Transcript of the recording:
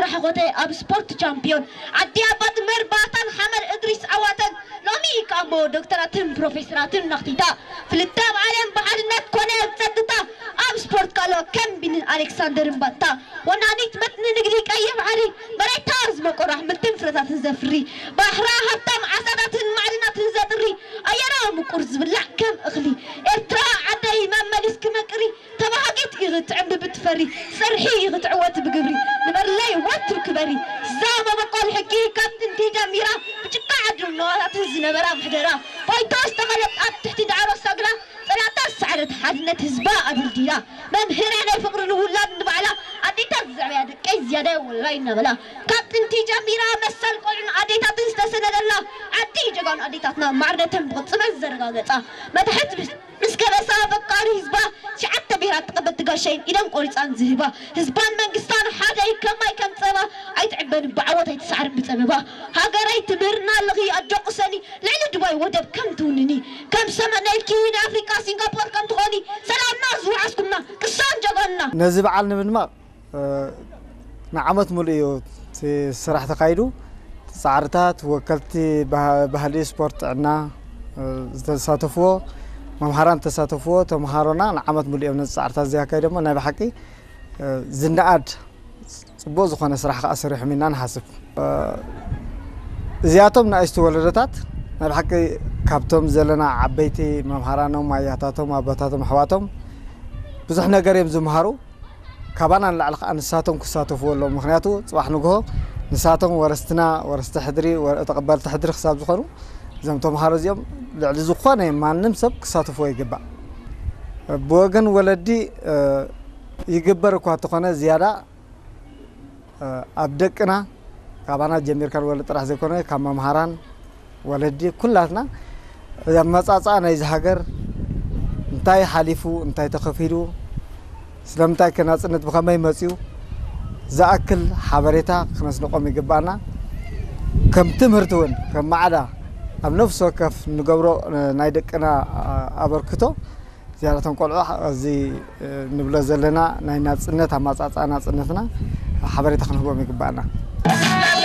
ራሕኾተይ ኣብ ስፖርት ቻምፒዮን ዓዲ ኣባት መርባታን ሓመድ እድሪስ ዓዋተን ሎሚ ከኣ እሞ ዶክተራትን ፕሮፌሰራትን ነኽቲታ ፍልጠ ኣብ ዓለም ብሓድነት ኮነ ኣብ ጸጥታ ኣብ ስፖርት ካሎ ከም ቢንን ኣሌክሳንደርን ባታ ወናኒት መትኒ ንግዲ ቀይሕ ባሕሪ መሬታ ዝመቆራ ኣሕምልትን ፍረታትን ዘፍሪ ባሕራ ሃብታም ዓሳታትን ማዕድናትን ዘጥሪ ኣየራ ምቁር ዝብላዕ ከም እኽሊ ኤርትራ ዓደይ መመሊስ ክመቅሪ ተባሃጊት ኢኺ ትዕምቢ ብትፈሪ ሰርሒ ኢኺ ትዕወት ብግብሪ ንበርለይ ወትር ክበሪ እዛ መበቆል ሕጊ ካብ ጥንቲ ጀሚራ ብጭቃ ዓድን ነዋታትን ዝነበራ ምሕደራ ባይቶ ዝተኸለት ኣብ ትሕቲ ዳዕሮ ሰግራ ጸላእታ ዝሰዓረት ሓድነት ህዝባ ኣደልዲላ መምህርያ ናይ ፍቕሪ ንውላድ ንባዕላ ኣዴታት ዘዕበያ ደቀይ ዝያዳ ወላይ እናበላ ካብ ጥንቲ ጀሚራ መሰል ቆልዑን ኣዴታትን ዝተሰነደላ ዓዲ ጀጋኑ ኣዴታትና ማዕርነተን ብቕጽበት ዘረጋገጻ መታሕት ምስ ከበሳ ኣፈቃሪ ህዝባ ትሽዓተ ብሄራት ተቐበልቲ ጋሻይን ኢደን ቆሪፃን ዝህባ ህዝባን መንግስታን ሓደ እዩ ከማይ ከም ፀባ ኣይትዕበን ብዓወት ኣይትሰዓርን ብፀበባ ሃገረይ ትምህርና ኣለኺ ኣጆ ቅሰኒ ልዕሊ ድባይ ወደብ ከም ትውንኒ ከም ሰመነልኪ ናይ ኣፍሪቃ ሲንጋፖር ከም ትኾኒ ሰላምና ዝወዓስኩምና ቅሳን ጀጋንና ነዚ በዓል ንምድማቕ ንዓመት ሙሉእ እዩ እቲ ስራሕ ተኻይዱ። ጻዕርታት ወከልቲ ባህሊ፣ ስፖርት፣ ጥዕና ዝተሳተፍዎ፣ መምሃራን ዝተሳተፍዎ ተምሃሮና ንዓመት ሙሉእ እዮም ነዚ ጻዕርታት እዚ ኣካይዶሞ። ናይ ብሓቂ ዝነኣድ ጽቡቕ ዝኾነ ስራሕ ከኣ ሰሪሖም ኢና ንሓስብ። እዚኣቶም ንኣሽቱ ወለዶታት ናይ ብሓቂ ካብቶም ዘለና ዓበይቲ መምሃራኖም፣ ኣያታቶም፣ ኣቦታቶም፣ ኣሕዋቶም ብዙሕ ነገር እዮም ዝምሃሩ። ካባና ንላዕሊ ከዓ ንሳቶም ክሳተፍዎ ኣለዎም። ምክንያቱ ፅባሕ ንግሆ ንሳቶም ወረስትና፣ ወረስቲ ሕድሪ፣ ወረ-፣ ተቐበልቲ ሕድሪ ክሳብ ዝኾኑ እዞም ተምሃሮ እዚኦም ልዕሊ ዝኾነ ማንም ሰብ ክሳተፍዎ ይግባእ። ብወገን ወለዲ ይግበር እኳ እንተኾነ ዝያዳ ኣብ ደቅና ካባና ጀሚርካ ንወለድ ጥራሕ ዘይኮነ ካብ መምሃራን ወለዲ ኩላትና ኣመፃፅኣ ናይዚ ሃገር እንታይ ሓሊፉ እንታይ ተኸፊሉ ስለምንታይ ከ ናፅነት ብኸመይ መፅዩ ዝኣክል ሓበሬታ ክነስንቆም ይግባኣና። ከም ትምህርቲ እውን ከም ማዕዳ ኣብ ነፍሲ ወከፍ ንገብሮ ናይ ደቅና ኣበርክቶ ዝያዳ እቶም ቆልዑ እዚ ንብሎ ዘለና ናይ ናፅነት ኣማፃፅኣ ናፅነትና ሓበሬታ ክንህቦም ይግባኣና።